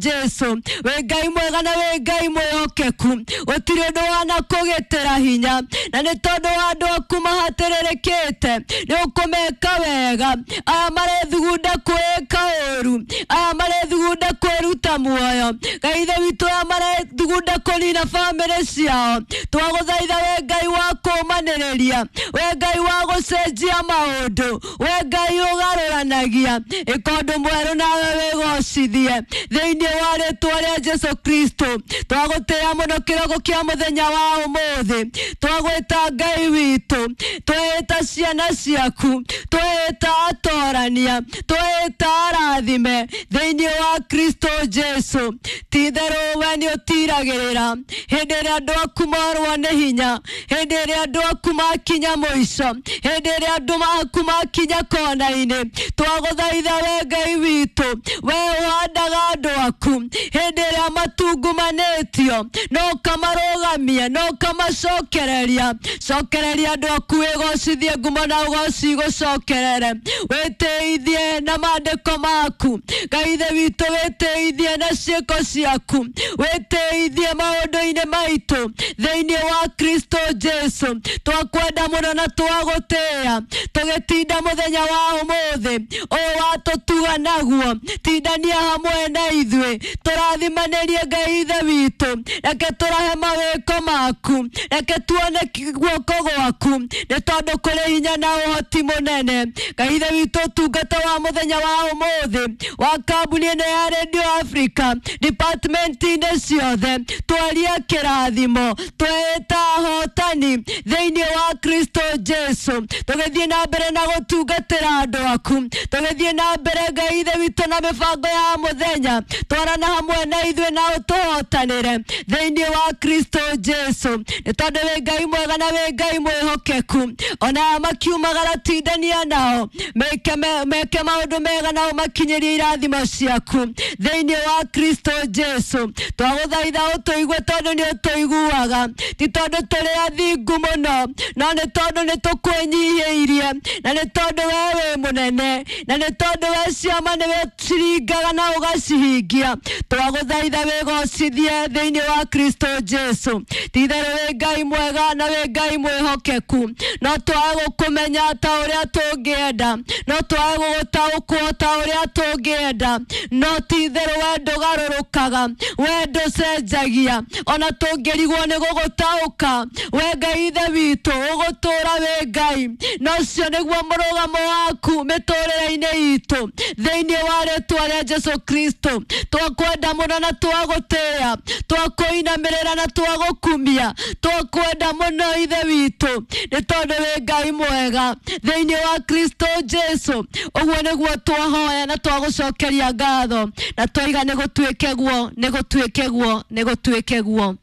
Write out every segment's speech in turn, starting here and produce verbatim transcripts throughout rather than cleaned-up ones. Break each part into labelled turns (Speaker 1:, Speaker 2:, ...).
Speaker 1: Jesu wĩ Ngai mwega na wĩ Ngai mwĩhokeku, gũtirĩ ũndũ wanakũgĩtĩra hinya, na nĩ tondũ wa andũ aku mahatĩrĩrĩkĩte nĩ ũkũmeka wega. Aya marethugunda kwĩka ũru, aya marethugunda kwĩruta muoyo, Ngai Ithe witũ, aya marethugunda kũnina bamĩrĩ ciao, twagũthaitha we Ngai wa kũũmanĩrĩria, we Ngai wa gũcenjia maũndũ, we Ngai ũgarũranagia, ĩka ũndũ mwerũ nawe wĩgocithie thĩinĩ wa rĩtwa rĩa Jesu Kristo. Twagũtĩĩa mũno kĩroko kĩa mũthenya wa ũmũthĩ, twagwĩta Ngai witũ, twĩta ciana ciaku, twĩta atorania, twĩta arathime thĩinĩ wa Kristo Jesu. Ti-itherũ we nĩ ũtiragĩrĩra hĩndĩ ĩrĩa andũ aku morwo nĩ hinya, hĩndĩ ĩrĩa andũ aku makinya mũico, hĩndĩ ĩrĩa andũ aku makinya kona-inĩ, twagũthaitha we Ngai witũ, we ũhandaga andũ aku hĩndĩ ĩrĩa matungumanĩtio, no ũkamarũgamia, no ũkamacokereria. Cokereria andũ aku, wĩgocithie, ngumo na ũgoci gũcokerere, wĩtĩithie na maandĩko maku, Ngai Ithe witũ, wĩtĩithie na ciĩko ciaku, wĩtĩithie maũndũ-inĩ maitũ thĩinĩ wa Kristo Jesu. Twakwenda mũno na twagũtĩĩa, tũgĩtinda mũthenya wa ũmũthĩ ũyũ watũtuga naguo, tindania hamwe na ithuĩ, tũrathimanĩrie Ngai Ithe witũ, reke tũrahe mawĩko maku, reke tuone guoko gwaku, nĩ tondũ kũrĩ hinya na ũhoti mũnene. Ngai Ithe witũ, ũtungata wa mũthenya wa ũmũthĩ wa kambuni ĩno ya Radio Africa, department-inĩ ciothe, twaria kĩrathimo, twĩta ahotani thĩinĩ wa Kristo Jesu, tũgĩthiĩ na mbere na gũtungatĩra andũ aku, tũgĩthiĩ na mbere Ngai Ithe witũ na mĩbango ya mũthenya, twarana hamwe na ithuĩ na ũtũhotanĩre thĩinĩ wa Kristo Jesu, nĩ tondũ wĩ Ngai mwega na wĩ Ngai mwĩhokeku. Ona aya makiumagara, tindania nao, meke meke maũndũ mega na ũmakinyĩrie irathimo ciaku thĩinĩ wa Kristo Jesu. Twagũthaitha ũtũigue tondũ nĩ ũtũiguaga, ti tondũ tũrĩ athingu mũno, no nĩ tondũ nĩ tũkwĩnyihĩirie, na nĩ tondũ we wĩ mũnene, na nĩ tondũ we ciama nĩwe ciringaga na ũgacihingia. Twagũthaitha wĩgocithie thĩinĩ wa Kristo Jesu. Ti-itherũ wĩ Ngai mwega na wĩ Ngai mwĩhokeku, no twage gũkũmenya ta ũrĩa tũngĩenda, no twage gũgũtaũkwo ta ũrĩa tũngĩenda, no ti-itherũ we ndũgarũrũkaga, we ndũcenjagia, ona tũngĩrigwo nĩ gũgũtaũka, we Ngai Ithe witũ ũgũtũũra wĩ Ngai, na ũcio nĩguo mũrũgamo waku mĩtũrĩre-inĩ itũ thĩinĩ wa rĩtwa rĩa Jesu Kristo. Twakwenda mũno na twagũtĩĩa, twakũinamĩrĩra na twagũkumia, twakwenda mũno Ithe witũ, nĩ tondũ wĩ Ngai mwega thĩinĩ wa Kristo Jesu. Ũguo nĩguo twahoya na twagũcokeria ngatho, na twaiga nĩ gũtuĩke guo, nĩ gũtuĩke guo, nĩ gũtuĩke guo.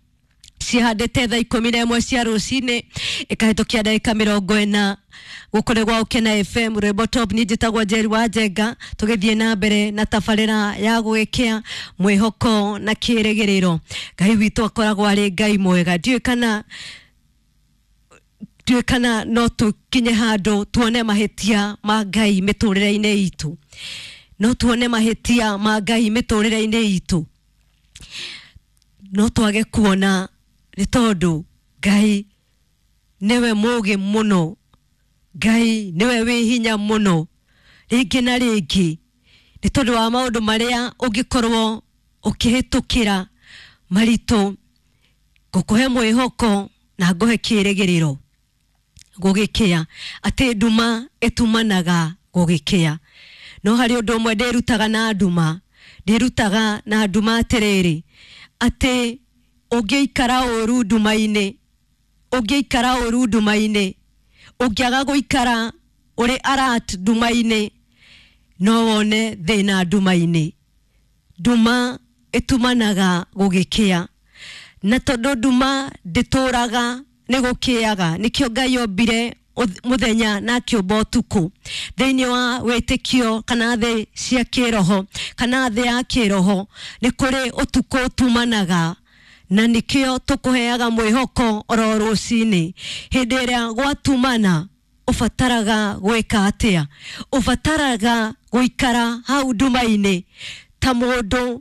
Speaker 1: Cihandĩte thaa ikũmi na ĩmwe cia rũcinĩ ĩkahĩtũkia ndagĩka mĩrongo ĩna, gũkũ nĩ gwa Ũkena F M, rwĩmbo top. Niĩ njĩtagwo Njeri wa Njenga, tũgĩthiĩ na mbere na tabarĩra ya gwĩkĩa mwĩhoko na kĩrĩgĩrĩro. Ngai witũ akoragwo arĩ Ngai mwega. Ndiũĩ kana ndiũĩ kana no tũkinye handũ tuone mahĩtia ma Ngai mĩtũrĩre-inĩ itũ, no tuone mahĩtia ma Ngai mĩtũrĩre-inĩ itũ, no twage kuona, nĩ tondũ Ngai nĩwe mũũgĩ mũno, Ngai nĩwe wĩ hinya mũno. Rĩngĩ na rĩngĩ nĩ tondũ wa maũndũ marĩa ũngĩkorwo ũkĩhĩtũkĩra maritũ, ngũkũhe mwĩhoko na ngũhe kĩrĩgĩrĩro gũgĩkĩa atĩ nduma ĩtumanaga gũgĩkĩa. No harĩ ũndũ ũmwe ndĩrutaga na nduma, ndĩrutaga na nduma atĩrĩrĩ, atĩ ũngĩikara ũru nduma-inĩ, ũngĩikara ũru nduma-inĩ, ũngĩaga gũikara ũrĩ alert nduma-inĩ, no wone thĩna nduma-inĩ. Nduma ĩtumanaga gũgĩkĩa, na tondũ nduma ndĩtũraga, nĩ gũkĩaga. Nĩkĩo Ngai ombire mũthenya na akĩũmba ũtukũ. Thĩinĩ wa wĩtĩkio kana thĩ cia kĩroho kana thĩ ya kĩroho, nĩ kũrĩ ũtukũ ũtumanaga, na nĩkĩo tũkũheaga mwĩhoko oro rũcinĩ. Hĩndĩ ĩrĩa gwatumana, ũbataraga gwĩka atĩa? Ũbataraga gũikara hau nduma-inĩ ta mũndũ.